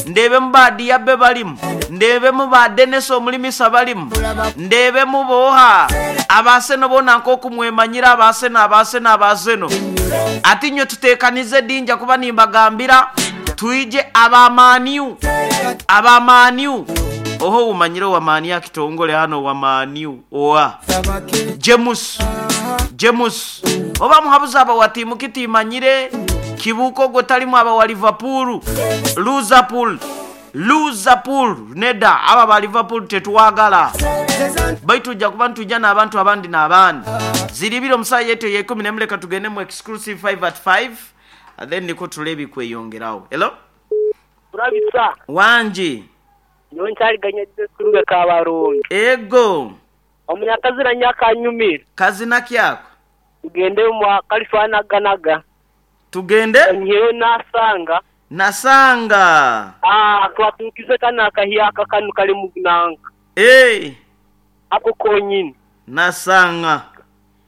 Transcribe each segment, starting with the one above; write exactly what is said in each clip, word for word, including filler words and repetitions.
Ndebemu ba Diabe balimu, ndebemu ba Denis Omulimisa balimu, ndebemu boha abaseno bona nkokumwemanyira abaseno abaseno abaseno. Ati nywe tutekanize dinja kuba nimbagambira twije abamaniu abamaniu oho umanyire wa mani ya kitongole hano wa maniu oa James James oba muhabuza aba wa timu kitimanyire kibuko gotalimu aba wa Liverpool Liverpool Liverpool neda aba ba Liverpool tetwagala baitu ja kuba ntujja n'abantu abandi n'abandi ziribiro musayi yetu ye kumi nemuleka tugende mu exclusive five at five and then niko tulebi kweyongerawo. Hello Kurabisa wanji nonchaliganya kurube kabarongo ego omunyakazira nyakanyumira kazina kyako tugende mu kalifana ganaga tugende nyewe nasanga nasanga ah twatukize kana kahiyaka kanu kali mugnanga eh ako konyini nasanga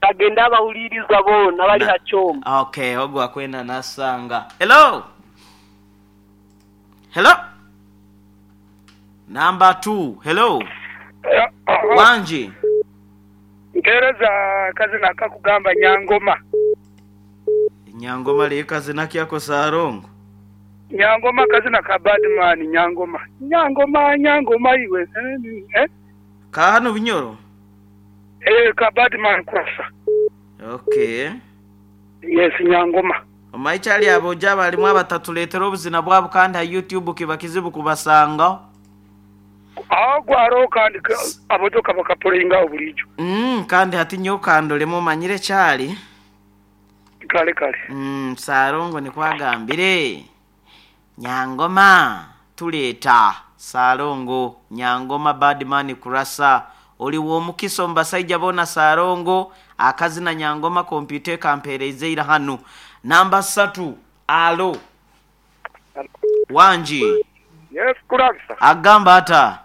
tagenda abahuliriza bona bali hachoma. Okay, ogwa akwenda nasanga. Hello hello number two. Hello wanji ntereza kazina kakugamba Nyangoma. Nyangoma le kazina kyako sarongo Nyangoma kazina ka badman Nyangoma Nyangoma Nyangoma iwe eh ka hano binyoro eh ka badman kurasa. Okay yes Nyangoma omaichali aboja balimu abatatuletera obuzina bwabo kandi ha YouTube kiba kizibu kubasanga agwaro kandi abojoka bakapolinga obulijo mm kandi hati nyokandolemo manyire chali kale kale mm sarongo nikwagambire Nyangoma tuleta sarongo Nyangoma badman kurasa oli womukiso mbasaija bona sarongo akazina Nyangoma computer kampereze ira hanu namba satu. Alo wanji yes kurasa agamba ata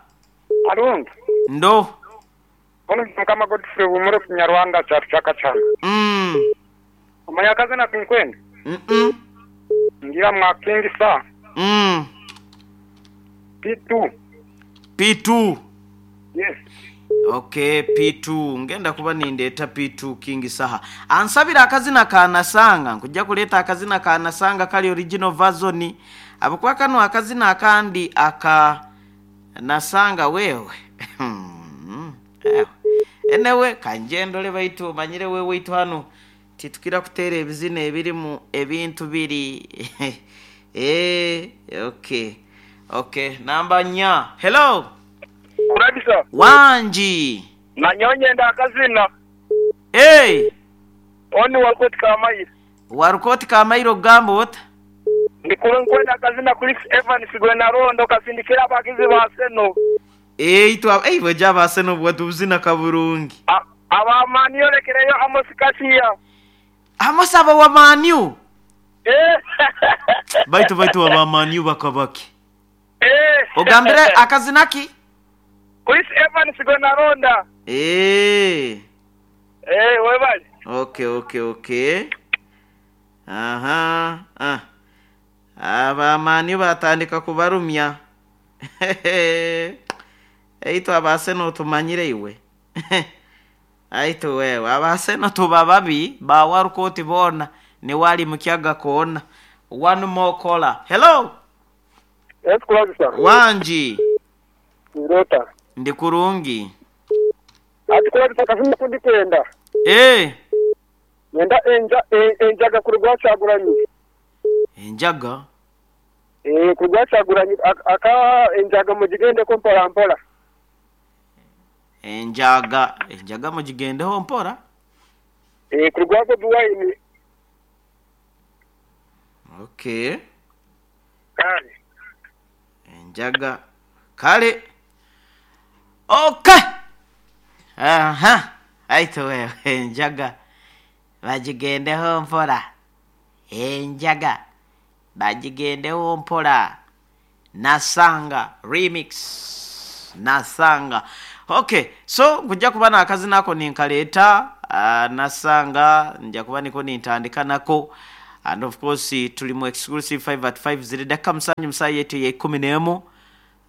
alongo ndo ono kama Godfrey umure kunyarwanda chaka chaka mm omanyakazi na kinkwenda mm -mm. ngira mwakingi sa mm P two P two yes okay P two ngenda kuba nindeta P two King Saha ansabira akazina kanasanga nkujja kuleta akazina kanasanga kali original version abukwa kano akazina akandi aka nasanga wewe enewe kanjendole baitu manyire wewe itu hano titukira kutera ebizina ebirimu ebintu biri eh okay okay namba nya. Hello kurabisa wanji nanyonye ndakazina eh oni warukoti kamairo warukoti kamairo gambo ota ndikuru nkwenda akazina Chris Evans gwe narondo kasindikira abagizi ba Seno eh itwa eh boja ba Seno bwatuzina kaburungi abamani yolekereyo Amos Kasiya Amos aba wa maniu eh baitu baitu abamaniu bakabaki eh ogambire akazina ki Chris Evans gwe naronda eh eh webali okay okay okay aha ah abamani batandika kubarumya eito abaseno tumanyire iwe aito wewe abaseno tubababi bawarukoti bona ni wali mukyaga kona. One more caller. Hello yes kurabisa wanji ndota ndikurungi ati kurabisa kazina kundi kwenda eh nenda enja enjaga kurugwa chaguranyi enjaga eh kurugwa chaguranyi aka enjaga mugigende ko mpora mpora enjaga enjaga mugigende ho mpora eh kurugwa ko duwaini okay kale enjaga kale okay aha aito wewe enjaga bagigendeho mpora enjaga bagigendeho mpora nasanga remix nasanga. Okay so nkujja kuba nakazina ako ninkaleta uh, nasanga nja kuba niko nintandika nako And of course tuli mu exclusive five at five, ziri dakika musanju musayi yetu ya ikumi n'emu.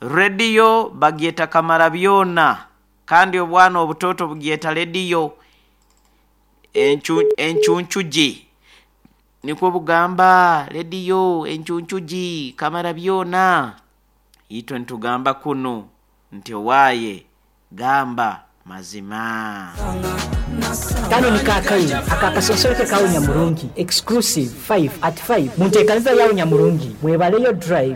Rediyo bagyeta kamara byona, kandi obwana obutoto bugyeta rediyo encu- encuncugi, nikwo bugamba rediyo encuncugi kamara byona. Itwe ntugamba kunu nti owaaye gamba mazima. Kano ni kakayi akakasonsoreke kawo nyamurungi exclusive five at five munteekaniza yawo nyamurungi mwebaleyo drive.